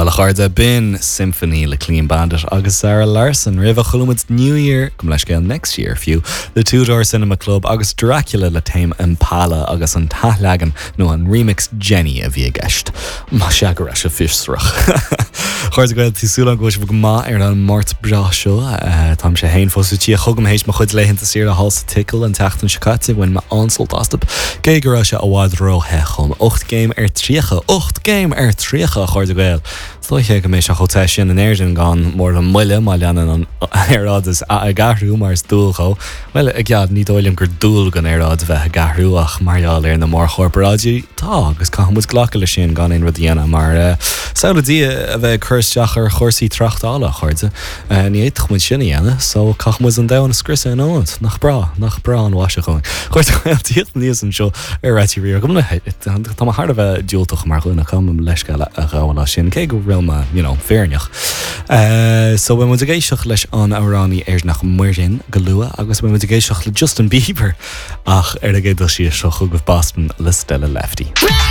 Bhuel, a chairde, b'in Symphony le Clean Bandit agus Zara Larsson. Roimhe chuala muid New Year, gabh mo leithscéal, Next Year fiú, le Two Door Cinema Club agus Dracula le Tame Impala agus an t-athleagan nó an remix Jenny a bhí i gceist. Más ea go raibh sé fiosrach. A chairde Gael, tá súil agam go bhfuil sibh go maith ar an Máirt breá seo. Táimse féin fós sa tíocht chugam théis mo chuid laethanta saoire thall sa tSicil an tseachtain seo caite. Bhain mé an-sult astu, cé go raibh sé i bhfad ró-the dhom. 8 gcéim ar 30! 8 gcéim ar 30, a chairde Gael! Is dóiche go mbeidh sé chomh te sin in Éirinn gan mórán moille má leanann an aeráid ag athrú mar is dual dhó. Bhuel, i gcead, ní dóigh liom gur dual don aeráid a bheith ag athrú ach mar gheall ar na mórchorparáidí, tá, agus caithfidh muid glacadh leis sin gan aon rud a dhéanamh mar samhlaigh Dia a bheith ag cur isteach ar chúrsaí tráchtála, a chairde. Ní fhéadfadh muid sin a dhéanamh, so caithfidh muid an domhan a scriosadh ina ionad. Nach breá, nach breá an mhaise dhúinn. A chairde Gael, tíocht aníos anseo ar Raidió Rí-Rá. Go Tá mé thar a bheith diúltach mar dhuine, caithfidh mé mo leithscéal a ghabháil as sin, cé go bhfuil mé, you know, fírinneach. So beidh muid ag éisteacht leis an amhránaí Éireannach Muireann go luath agus beidh muid ag éisteacht le Justin Bieber ach ar an gcéad dul síos seo chugaibh Boston le Stella Lefty.